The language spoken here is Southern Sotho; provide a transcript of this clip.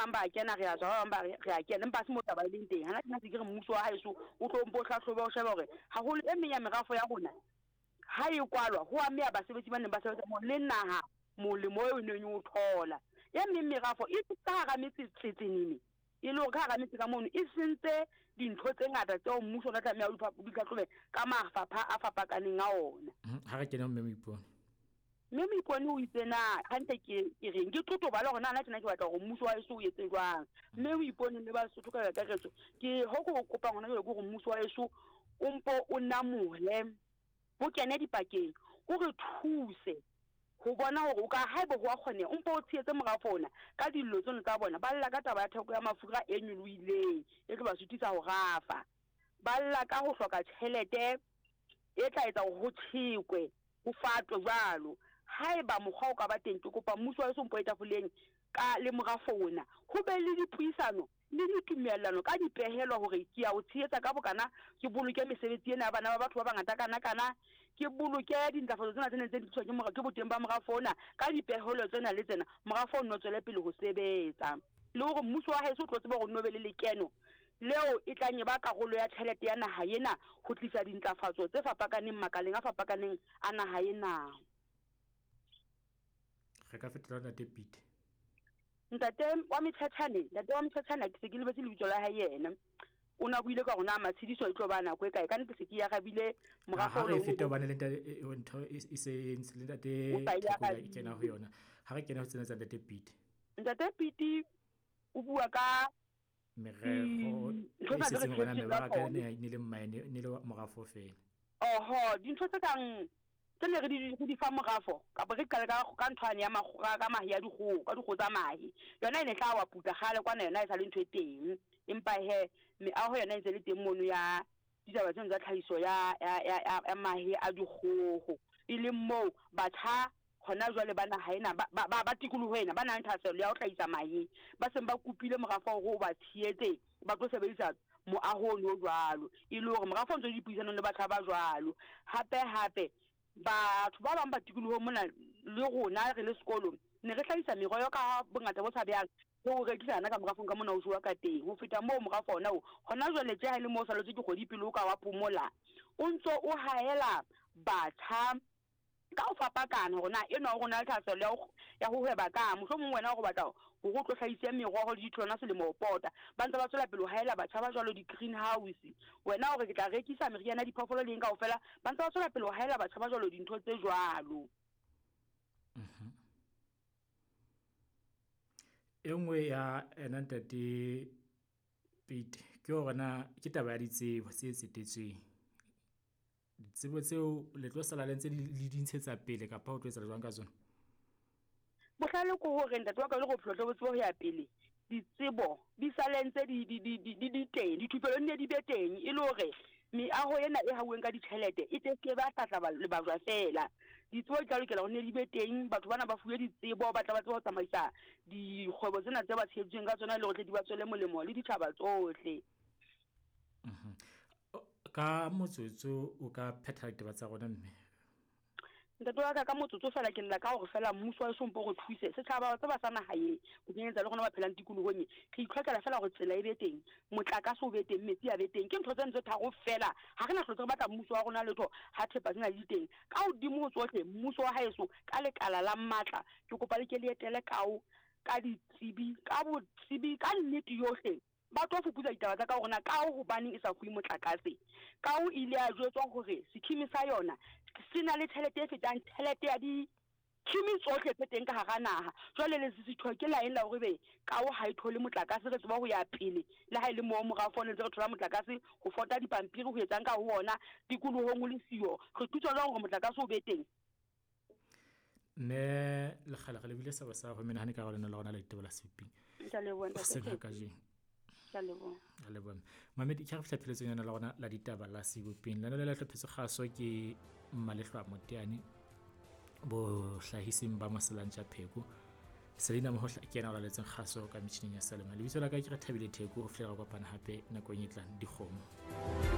bang ba kena re a tswa, ba bang ba re a kena, empa ha se moo taba e leng teng. Hana tjena se ke re mmuso wa haeso o tlo mpo o hlahlobe o shebe hore haholo e meng ya merafo ya rona ha e kwalwa ho ameha basebetsi ba neng ba sebetsa moo le naha molemo eo e neng e o thola. E meng merafo e ka hara metse tsetsenene, e le hore ka hara metse ka mono e sentse dintho tse ngata tseo mmuso o tla tlameha o di hlahlobe ka mafapha a fapakaneng a ona. Ha re kene ho Mme Moipone. Mme Moipone o itse na hantle ke ke reng ke totobale hore na nna tjena ke batla hore mmuso wa heso o etse jwang. Mme Moipone le Basotho ka kakaretso ke ho ke o kopang hona jwale ke hore mmuso wa heso o mpo o namole, o kene dipakeng, o re thuse ho bona hore o ka haeba ho a kgoneha o mpo o tshehetse morafo ona ka dillo tseno tsa bona. Ba lla ka taba ya theko ya mafura e nyolohileng e tlo ba sutisa ho rafa. Ba lla ka ho hloka tjhelete e tla etsa hore ho tjhekwe, ho fatwe jwalo. Haeba mokgwa o ka ba teng, ke kopa mmuso wa heso o mpo ye tafoleng ka le morafo ona, ho be le dipuisano le ditumellano ka dipehelo hore ke ya o tshehetsa ka bokana, ke boloke mesebetsi ena ya bana ba batho ba bangata kana-kana, ke boloke dintlafatso tsena tse neng tse di tliswa ke ke boteng ba morafo ona ka dipehelo tsena le tsena, morafo o nno tswele pele ho sebetsa. Le hore mmuso wa heso o tlo tseba hore o nno be le lekeno leo e tlang e ba karolo ya tjhelete ya naha ena ho tlisa dintlafatso tse fapakaneng makaleng a fapakaneng a naha ena. Re ka fetola Ntate Pete. Ntate wa Metshetshane, ntate wa Metshetshane ke se ke lebetse lebitso la hae yena. O na buile ka hore na matshediso e tlo ba nako e kae. Ka nnete se ke arabile morafo. Ha re feta hobane le ntate e, e, ntho e, e se e ntse le ntate Thekola e kena ho yona. Ha re kena ho tsena tsa ntate Pete. Ntate Pete o bua ka merero e setseng hore na mebaraka e ne le mmaene ne le morafo fela. Oho, dintho tse kang tse ne re di re di fa morafo kapa re qale ka ka ntho yane ya ka mahe a dikgoho, ka dikgoho tsa mahe. Yona e ne tla wa putla kgale kwana yona e sa le ntho e teng. Empa he meaho yona e ntse le teng mono ya ditaba tseno tsa tlhahiso ya ya ya ya mahe a dikgoho. E leng moo batjha hona jwale ba naha ena ba ba ba tikoloho ena ba nang le thahasello ya ho hlahisa mahe ba seng ba kopile morafo hore o ba tshehetse ba tlo sebedisa moaho ono o jwalo, e le hore morafo o ntse o le dipuisanong le batjha ba jwalo. Hape hape batho ba bang ba tikolohong mona le rona re le sekolo ne re hlahisa meroho ka bongata bo tshabehang re o rekisa hana ka morafong ka mona o jowa ka teng. Ho feta moo morafo ona o hona jwale tje ha e le moo o saletswe ke kgwedi pele o ka wa phomola, o ntso o haela batjha ka ho fapakana hore na enwa o rona le thahasello ya ho ya ho hweba kang. Mohlomong wena o batla hore o tlo hlahise meroho le ditholwana selemo ho pota. Ba ntse ba tswela pele ho haela batjha ba jwalo di-greenhouse. Wena o re ke tla rekisa meriana ya diphoofolo le eng kaofela, ba ntse ba tswela pele ho haela batjha ba jwalo dintho tse jwalo. E nngwe ya ena ntate Pete ke hore na ke taba ya ditsebo tse tsetetsweng. Ditsebo tseo le tlo sala le ntse le di ntshetsa pele kapa ho tlo etsahala jwang ka tsona? Bohlale ke hore ntate wa ka le gore bophelo tle bo tsebe ho ya pele, ditsebo di sale ntse di di di di di teng, dithupelo di ne di be teng e le hore meaho ena e hauweng ka ditjhelete e tle se ba hlahla lebajwa feela. Ditsebo di tla lokela hore ne di be teng, batho bana ba fuwe ditsebo, ba tla ba tsebe ho tsamaisa dikgwebo tsena tse ba tsheheditsweng ka tsona le hore tle di ba tswele molemo le ditjhaba tsohle. Ka motsotso o ka phetha ditaba tsa rona mme. Ntate wa ka, ka motsotso fela ke lla ka hore fela mmuso wa heso mpo re thuse. Setjhaba wa tseba sa naha ye, ho kenyelletsa le rona ba phelang tikolohong e, re itlhokela fela hore tsela e be teng, motlakase o be teng, metsi a be teng. Ke ntho tseno tse tharo fela. Ha re na hlotse re batla mmuso wa rona letho ha thepa tsena di le teng. Ka hodimo ho tsohle, mmuso wa haeso ka lekala la matla, ke kopa le ke le etele kao ka ditsebi, ka botsebi, ka nnete yohle. Ba tlo fuputsa ditaba tsa ka hore na Kao hobaneng e sa fuwe motlakase. Kao e ile ya jwetswa hore sekhimi sa yona se na le tjhelete e fetang tjhelete ya dikhimi tsohle tse teng ka hara naha. Jwale lesisitho ke la eng la hore ebe Kao ha e thole motlakase? Re tseba ho ya pele le ha e le moo morafo ne ntse re thola motlakase ho fota dipampiri ho etsang ka ho ona tikolohong o le siyo. Re thuswa jwang hore motlakase o be teng? Mme lekgale re lebile sebo sa ho menahane ka lena la rona la ditaba la seping hoseng ha kajeno. Ka leboha mamedi, ke re fihla pheletsong yona la rona la ditaba la sebopeng. Lena le la hlophetswe kgaso ke Mmalehlwa Moteane, bohlahising ba Maselantja Pheko. Selina Mohohla ke yena o laletseng kgaso ka metjhining ya Salema. Lebitso la ka ke re Thabile Theko, ho fihlela re kopana hape nakong e tlang. Dikgomo.